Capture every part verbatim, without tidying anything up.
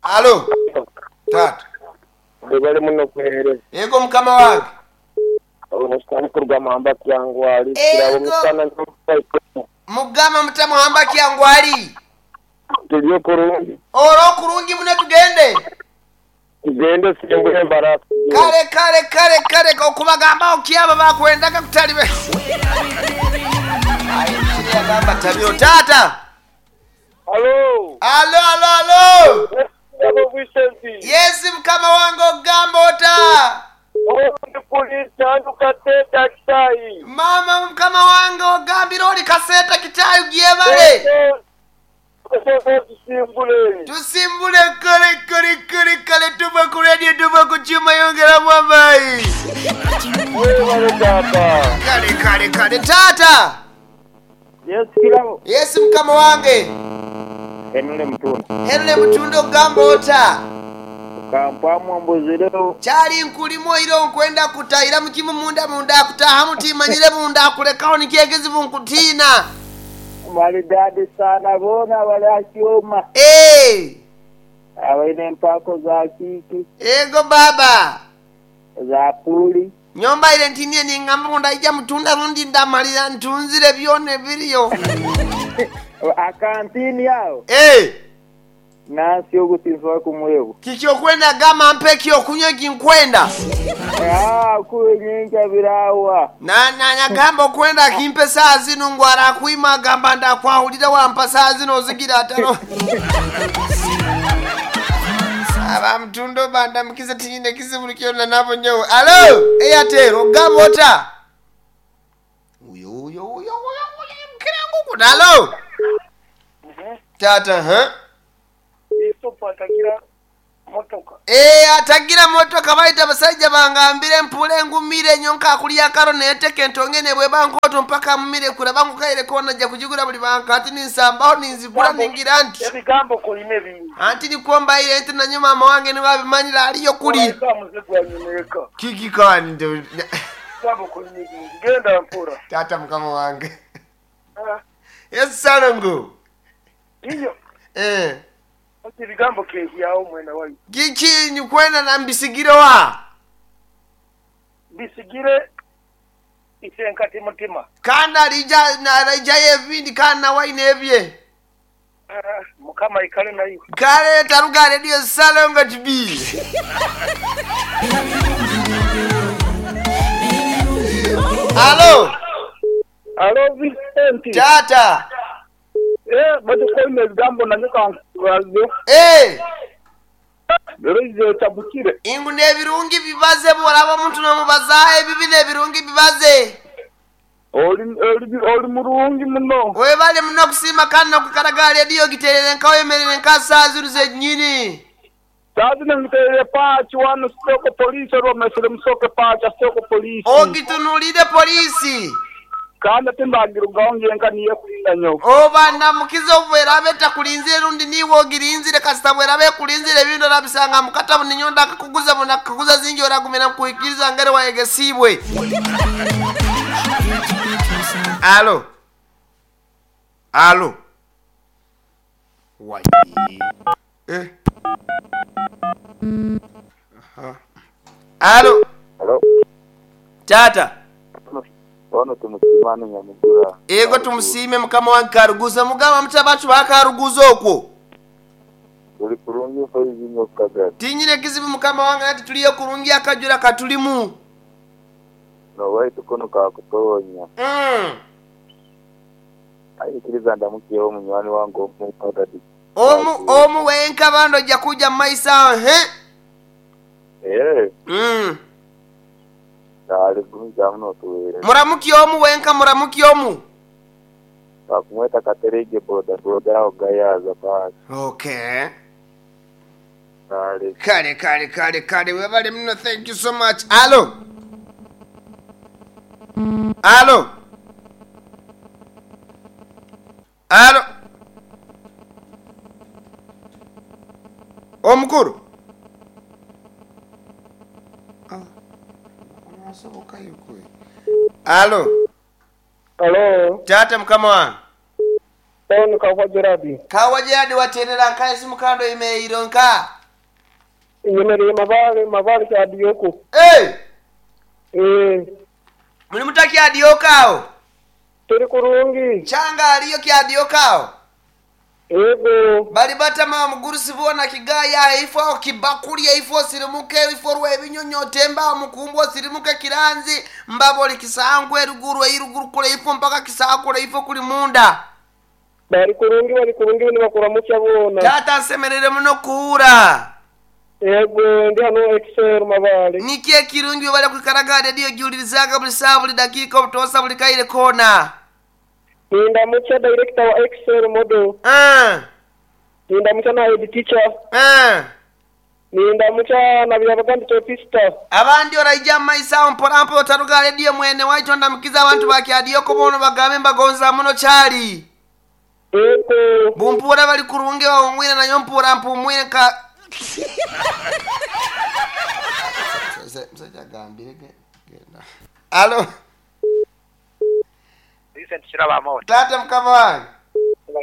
Alo tata. Bali muno kuhereza. Yego mukama wange. Omusana kuruga muhamba kyangwali. Kirabo musana mugama mutamuhamba kyangwali. Tuliyo kurungi. Oro kurungi mune tugende. Tugende simbule barafu. Kale kale kale kale okubagamba okyaba bakwendaga kutalibe. Ayi kiri agamba tabiro tata. Alo. Alo alo alo. Yes, mukama wange ogamba ota. Mama mukama wange ogambira oli kaseta kitayi gyebale. Tusimbule kale kale kale kale tuva ku radio tuva ku chuma yongera mwambayi. Kale kale kale tata. Yes, kirabo. Yes, mukama wange. Henule mutunda. Henule mutunda ogamba ota. Kampamu mbuzireo. Chali nkulimo iro nkwenda kutayira mukimu munda munda kutaha mutimanyire munda kulekaho nikyegezibu nkutina. Maridadi sana bona walakioma. Eh. Abaine mpako za kiki. Ego baba. Za puli. Nyomba ile ntinie ningamba munda ija mutunda rundi ndamalira ntunzire byone biriyo. Akantini yao. Eh. Nasi ogutinzwa kumwebu. Kikyo kwenda gama mpeki okunywa kinkwenda. Ah, kuyenyenja birawa. Na na nyagamba okwenda kimpe saa zino ngwara kuima gamba ndakwahulira wampa saa zino ozigira atano. Aba mtundo banda mkize tinyine kizibu kyona nabo nyowe. Alo, Airtel ogamba ota. Uyo uyo uyo uyo mkirangu kudalo. Tata, ha? Atagira motoka. Eh, atagira motoka baita basajja bangambire mpule ngumire nyonka kulya karo neteke ntongene bwe bankoto mpaka mumire kula bangu kaire kona ja kujigura buli banka ati ninsambaho ninzigura ningira nti ebigambo kolime bingi anti nikomba ile enti na nyuma mama wange ni wabimanyira aliyo kuli kiki kani ndo gambo kolime bingi genda mpura tata mukama wange. Ah. Yes salongo iyo eh ebigambo kehyawo mwena wayi kiki nikwenda na mbisigire wa bisigire isenkati mutima kana rija na rija yevindi kana waine ebye uh, mukama ikale nayo kale taruga radio salongo T V. Alo alo Vincent tata. Eh, bado ebigambo nanyuka nkubaze. Eh. Rero tabukire. Ingu nebirungi bibaze boraba omuntu nomubaza ebibi nebirungi bibaze. Oli oli oli murungi muno. Webale muno kusima kandi kukaraga radio giterere nkawe emerere nkasa ziruze nyini. Sazi ngiterere pachi wano soko polisi ro mesere musoke pachi soko polisi. Ogitunulire polisi. Kandi timbagira ugaonge nka niye kulinda nyo. Oba namukizo bwera beta kulinzire rundi niwo girinzire kasita bwera be kulinzire bintu nabisanga mukatabu ninyonda kukuguza muna kukuguza zingi oragumira kuikiriza ngere wayegesibwe. Alo. Alo. Wai. Eh. Aha. Alo. Alo. Tata. Ono tumusimane nyamugura. Ego tumusime mukama wange Karuguza mugamba mutabachu bakaruguza okwo. Uli kurungi faizinyo kagati. Tinyine kizibu mukama wange ati tuliyo kurungi akajura katulimu. No waitu kono kakutonya. Mm. Ayikiriza ndamukiye omunywani wange omu kagati. Omu omu wenka bando jakuja maisa he? Eh. Mm. Muramuki omu wenka muramuki omu. Bakumweta katerege boda boda ogayaza basi. Okay. Kale kale kale kale kale webale muno, thank you so much. Alo. Alo. Alo. Omukuru. Alo. Alo. Tata mukama wange. Ono Kawa Gerard. Kawa Gerard waterera nka esimu kando imeiro nka. Nyemereye Mabale, Mabale Kyadiyoko. Hey! Eh, Muli muta Kyadiyoko awo? Turi kurungi. Kyanga aliyo Kyadiyoko awo? Ego. Bali batama omugurusi boona Kigaya ifo awo Kibakuli ifo osirimuke ifo Rwebinyonyi otemba awo Mukumbu osirimuke Kiranzi mbaba oli Kisangwe eruguru eiruguru kule ifo mpaka Kisakule ifo kuli munda. Bali kurungi, bali kurungi nibakuramukya boona. Taata nsemerere muno kuhura. Ego, ndi hano Excel Mabale. Niki ekirungi webale kwikaraga rediyo giwulirizaga buli saawa buli dakiika obutosa buli kaire koona. Nindamukya director wa Excel model. Ah, Nindamukya na head teacher. ah. Nindamukya na Byabagambi Topista. Abandi oraija mumaiso awo mpolampola otaruga rediyo mwene waitu ndamukiza abantu ba Kyadiyoko boona bagambe mbagonza muno kyali. Ego. Bumpuura bali kurungi bawumwire nayo mpuura mpumwire nka musajja agambire ge- genda. Alo, Vincent Kirabamoni taata mukama wange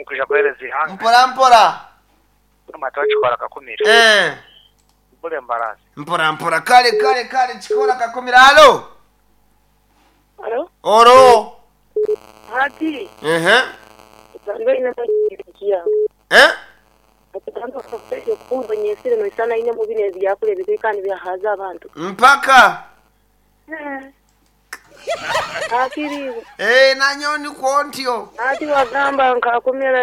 nkuja kuhereza ihanga mpora mpora. amata kikora kakumira Eh, bule mbarasi mpora mpora kale kale kale kikola kakumira. Alo, Alo? oro. Hati, Ehe. utandwa ina mwikia. Eh? Atutandwa kufesha kumva nyesire no isana ine mubine ebyakule bikani byahaza abantu. Mpaka. Akiri, Eh, nanyo nikwo ntyo. ati wagamba nkakumira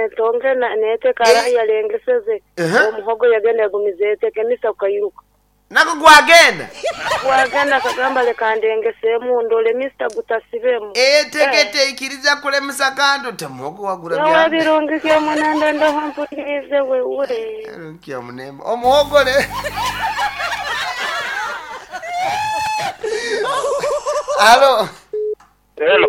eh, tonge na nete kara Eh. yalengeseze. Ehe. Omuhogo yagenda yagumiza eteke misa ukairuka. Nako gwagenda. Wagenda akagamba leka ndengesemu ndole mista gutasibemu. Etegete ikiriza kulemesa kanto temuhogo wagura Nawe bya. birungi kya munanda ndaho mpulirize wewe. Kya munemba. Omuhogo le. Alo. Hello.